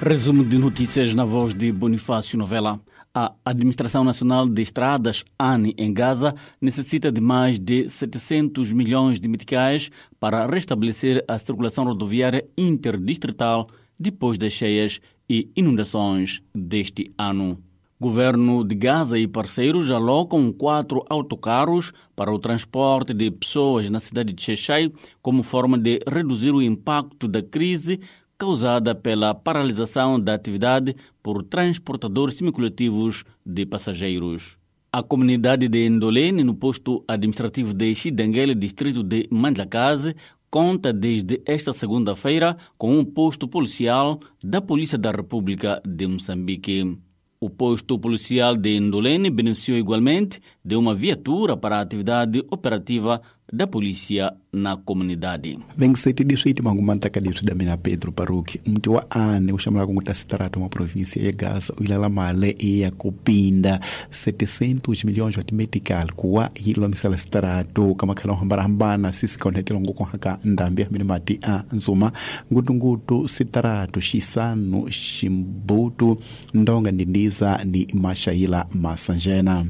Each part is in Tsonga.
Resumo de notícias na voz de Bonifácio Novela. A Administração Nacional de Estradas, ANE, em Gaza, necessita de mais de 700 milhões de meticais para restabelecer a circulação rodoviária interdistrital depois das cheias e inundações deste ano. Governo de Gaza e parceiros alocam 4 autocarros para o transporte de pessoas na cidade de Xexai como forma de reduzir o impacto da crise causada pela paralisação da atividade por transportadores semicoletivos de passageiros. A comunidade de Ndolene, no posto administrativo de Xidenguele, distrito de Mandlakazi, conta desde esta segunda-feira com um posto policial da Polícia da República de Moçambique. O posto policial de Ndolene beneficiou igualmente de uma viatura para a atividade operativa da polícia na comunidade. 27 mangumantakadiswi Pedro Paruki mti wa ane uxamula kunguta sitarata wa província ya Gaza uilala male ya kupinda 700 milhões wa timetical kuwa yilulamisela sitaratu kamakhala hambanahambana sisi kaonhetela ngukuhaka ndambi hamene mati a nzuma ngutungutu sitaratu xisanu ximbutu ndonga ndindiza ni maxaila masanjena.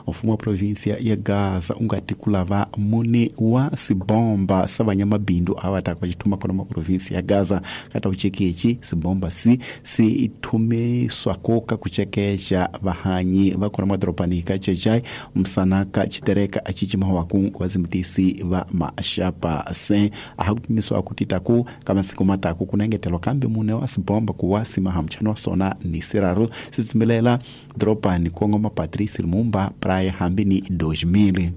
Mfumo wa província ya Gaza ungati kulava mune wa sibomba sa vanyamabindu avataka vachithuma kona ma província ya Gaza kata uchekechi sibomba si ithumiswako ka kuchekecha vahanyi va kona madorobani ka Chechai Msanaka Chitereka achichimawaku vazimutisi va maxapa se aha kupimiswa kutitaku ka masiku mataku kunengetelwa kambe mune wa sibomba kuwa simahamchano wa sona ni siraro sitsimilela dorobani kongoma Patrice Lumumba praia hambini 2000.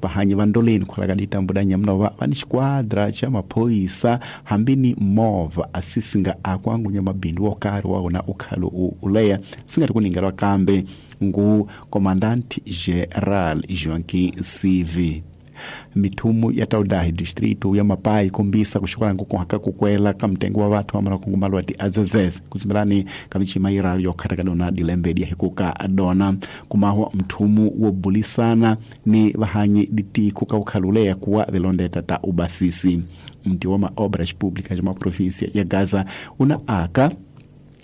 Vahanyi va Ndoleni kholaka ditambuda nyamnova va ni xiquadra xa maphorisa hambini movha asisinga akwangunya mabindu wo karhi wa wona u khale u leya swi nga ri ku ningeriwa kambe ngu Commandant General Joaquim CV. Mithumu ya Taudahi distrito ya Mapai kombisa kuxikwana nkukuhaka kukwela ka mtengo wa vathu va marakungumalwa ti azezes kutsimelani ka michima yiralu yo khataka dona dilembedi ya hikuka dona kumahwa mthumu wo bulisana ni vahanyi ditiko ka ukhaluleya kuwa vilondeta ta ubasisi. Mti wa maobras públicas ma província ya Gaza una aka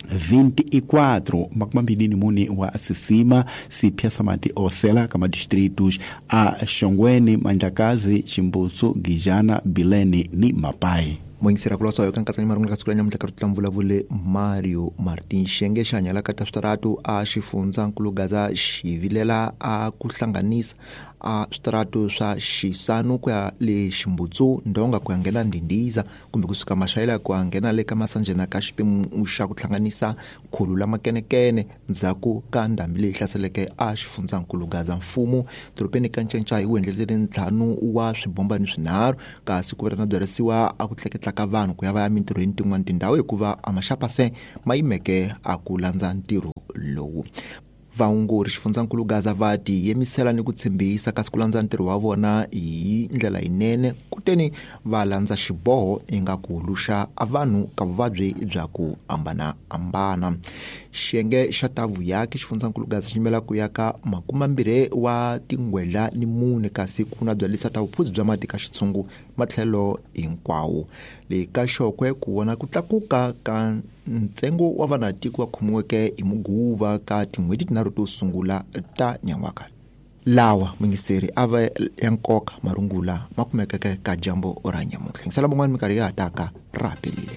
24 makumambili mune wa sisima sipya samati osela kama distritos a Xongweni, Mandlakazi, Chimbusu, Gijana, Bilene ni Mapai. Moingisera kulosa yo kankatsani marungula ka siku la nyamuntlha ka ri vulavule Mario Martin Xiyenge xa hanyala ka ta switaratu a xifundzankulu Gaza xivilela a ku hlanganisa a switaratu swa Xisanu ku ya le Ximbutsu Ndonga ku ya nghena Ndindiza kumbe kusuka Maxaila ku ya nghena le ka Masanjena ka xiphemu xa ku hlanganisa khulu la makenekene ndzhaku ka ndhambi leyi hlaseleke a xifundzankulu Gaza. Mfumo dorobeni ka Ncencai wu endlelele ntlhanu wa swibombani swinharhu kasi ku na byarisiwa a ku tleketla ka vanhu ku ya va ya mintirhweni tin'wana tindhawu hikuva a maxapase ma yimeke a ku landza ntirho lowu. Vaongori xifundzankulu Gaza va tiyimisela ni ku tshembisa kasi ku landza ntirho wa vona hi ndlela yinene kuteni va landza xiboho ingaku xa vanhu ka vuvabyi bya ku hambanahambana. Xiyenge xa ta vuyaki xifundzankulu Gaza xi yimela ku ya ka 24 wa tingwedla ni 4 kasi ku na byalisa ta vuphuzi bya mati ka xitshungu matlhelo hinkwawo. Le ka Xokwe ku vona ku tlakuka ka ntsengo wa vanatiko va khomiweke hi muguva ka tin'hweti tinharhu to sungula ta nyan'waka. Lawa mungiseri a va ya nkoka marungula ma kumekeke ka dyambu ra nyamuntlha. Yingisela van'wani minkarhi ya ha taka ra pelile.